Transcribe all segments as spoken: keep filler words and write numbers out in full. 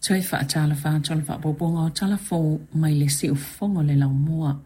Toe faatalofa atu o le faaopoopoga o Tala Fou mai le Siufofoga o le Laumua.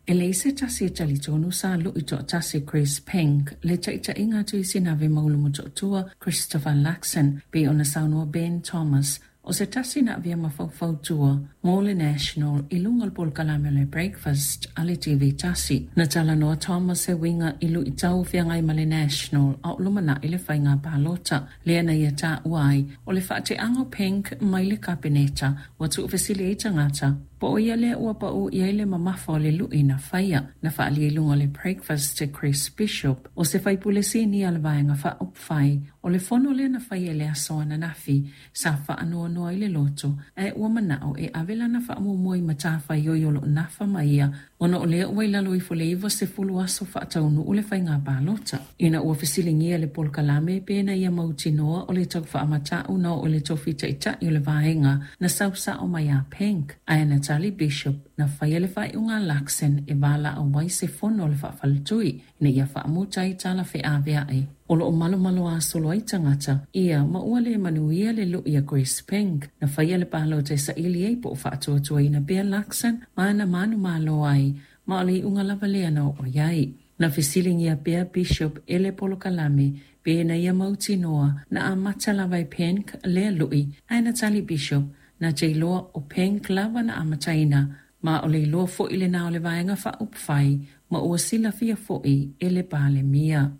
E leai se tasi e talitonu sa lu'i toatasi Chris Penk le taitaiga a Tuisinave Maulu Motootua Christopher Luxon pei ona saunoa Ben Thomas o se tasi na avea ma faufautua mo le National i luga o le polokalame o le Breakfast a le T V tasi. Na talanoa Thomas e uiga i luitau o feagai ma le National a o lumanai le faiga palota. Lea na ia taua ai o le faateaga o Penk mai le kapeneta ua tuufesili ai tagata po o ia lea ua pau i ai le mamafa o le lu'i na faia na faaalia i luga o le Breakfast e Chris Bishop o se faipule sinia o le vaega faaupufai o le fono lea na faia i le aso ananafi sa faanoanoa ai le loto ae ua manao e ave lana faamuamua i matafaioi o loo nafa ma ia ona o lea ua i lalo ifo le iva sefulu aso faataunuu le faiga palota. Ina ua fesiligia le polokalame pe na ia mautinoa o le tau faamatau na oo i le tofi taʻitaʻi o le vaega na sausao mai a Penk ae na tali Bishop na faia le faaiuga a Luxon e valaau ai se fono o le faafaletui ina ia faamuta ai tala feaveaʻe o loo malomalo asolo ai tagata ia ma ua le manuia le lu'i a Chris Penk na faia le palota e saili ai po o faatuatuaina pea Luxon ma na manumalo ai ma o le iuga lava lea na oo i ai. Na fesiligia pea Bishop e le polokalame pe na ia mautinoa na amata lava e Penk lea lu'i ae na tali Bishop na te iloa o Penk lava na amataina ma o le iloa fo'i lena o le vaega faaupufai ma ua silafia fo'i e le Palemia.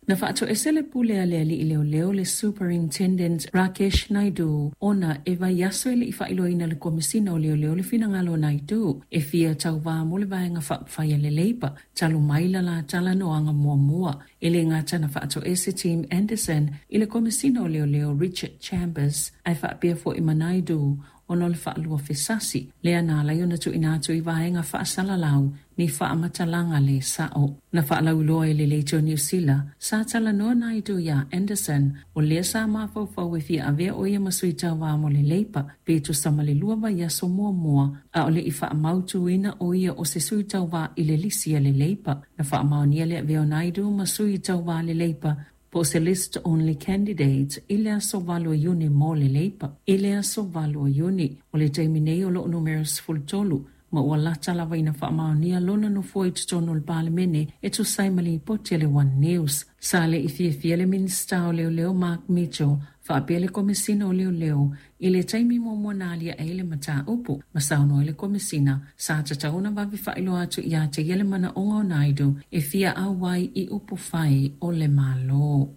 Na faatoese le pule a le alii leoleo le Superintendent Rakesh Naidu ona e vaiaso e le i faailoaina le Komesina o Leoleo le finagalo o Naidu e fia tauvā mo le vaega faaupufai a le Labour talu mai la la talanoaga muamua. E le gata na faatoese Tim Anderson i le Komesina o Leoleo Richard Chambers ae faapea fo'i ma Naidu ona o le faalua fesasi lea na ala ai ona tuuina atu i vaega faasalalau ni faamatalaga le sao. Na faalauiloa e le Leitio Niu Sila sa talanoa Naidu iā Anderson o lea sa mafaufau e fia avea o ia ma sui tauvā mo le Labour pe tusa ma le lua vaiaso muamua a o le i faamautuina o ia o se sui tauvā i le lisi a le Labour. Na faamaonia le avea o Naidu ma sui tauvā le Labour po o se list only candidate i le aso valo o Iuni mo le Labour. I le aso valo o Iuni o le taimi nei o loo numera sefulu tolu ma ua lata lava ina faamaonia lona nofoa i totonu o le Palemene e tusa ai ma lipoti a le One News. Sa le i fiafia le Minisita o Leoleo Mark Mitchell faapea le Komesina o Leoleo i le taimi muamua na aliae ai le mataupu ma saunoa ai le Komesina sa tatau ona vave faailoa atu ia te ia le manaoga o Naidu e fia auai i upufai o le Malo.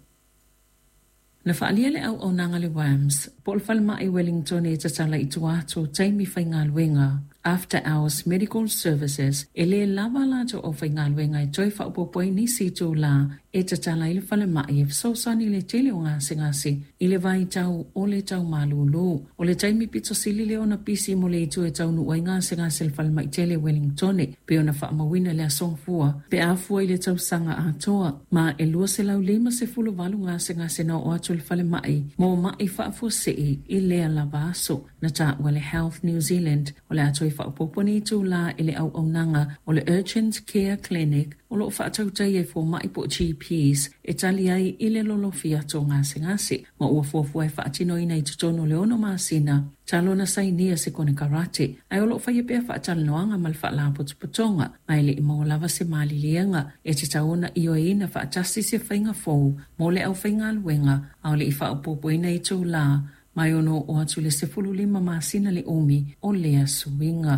Na faaalia le auaunaga le WAMS po o le falemai Wellington e tatala i tua atu o taimi faigaluega After Hours Medical Services e lē lava latou aufaigaluega e toe faaopoopo ai nisi itulā e tatala ai le falemai e fesoasoani i le tele o gasegase i le vaitau o le taumalūlū. O le taimi pito sili lea ona pisi mo le itu e taunuu ai gasegase i le falemai tele Wellington pei ona faamauina le aso Gafua pe a fua i le tausaga atoa ma e lua selau lima sefulu valu gasegase na oo atu i le falemai mo maʻi faafuasei i lea lava aso. Na taua le Health New Zealand o le a toe faaopoopo ni itulā i le auaunaga o le Urgent Care Clinic o loo faatautaia e fomaʻi po o G Ps e tali ai i le lolofi atu o gasegase ma ua fuafua e faatinoina i totonu o le ono masina talu ona sainia se konekarate ae o loo faia pea faatalanoaga ma le faalapotopotoga ma e leʻi maua lava se maliliega e tatau ona ioeina faatasi se faiga fou mo le aufaigaluega a o le i faaopoopoina itulā mai ono oo atu i le sefulu lima masina le umi o lea suiga.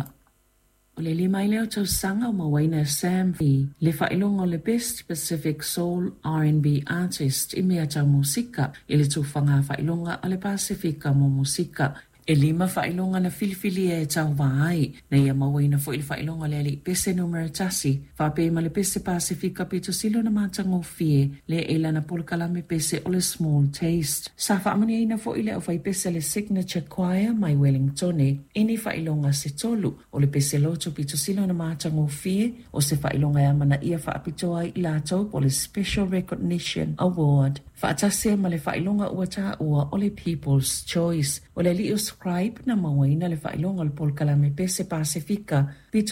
O le lima ai lea o tausaga o mauaina e Sam V le faailoga o le Best Pacific Soul R and B Artist i mea tau musika i le tufaga faailoga a le Pasifika mo musika. E lima faailoga na filifilia e tauvā ai na ia mauaina fo'i le faailoga o le alii pese numera tasi faapea ma le pese Pasifika pito sili ona matagofie lea e lana polokalame pese o le Small Taste. Sa faamanuiaina fo'i le aufaipese le Signature Choir mai Wellingtone i ni faailoga se tolu o le pese loto pito sili ona matagofie o se faailoga e amanaia faapitoa ai i latou po o le Special Recognition Award. Faatasi ai ma le faailoga ua taua o le People's Choice. O le alii o Scribe na mauaina le faailoga o le polokalame pese Pasifika pito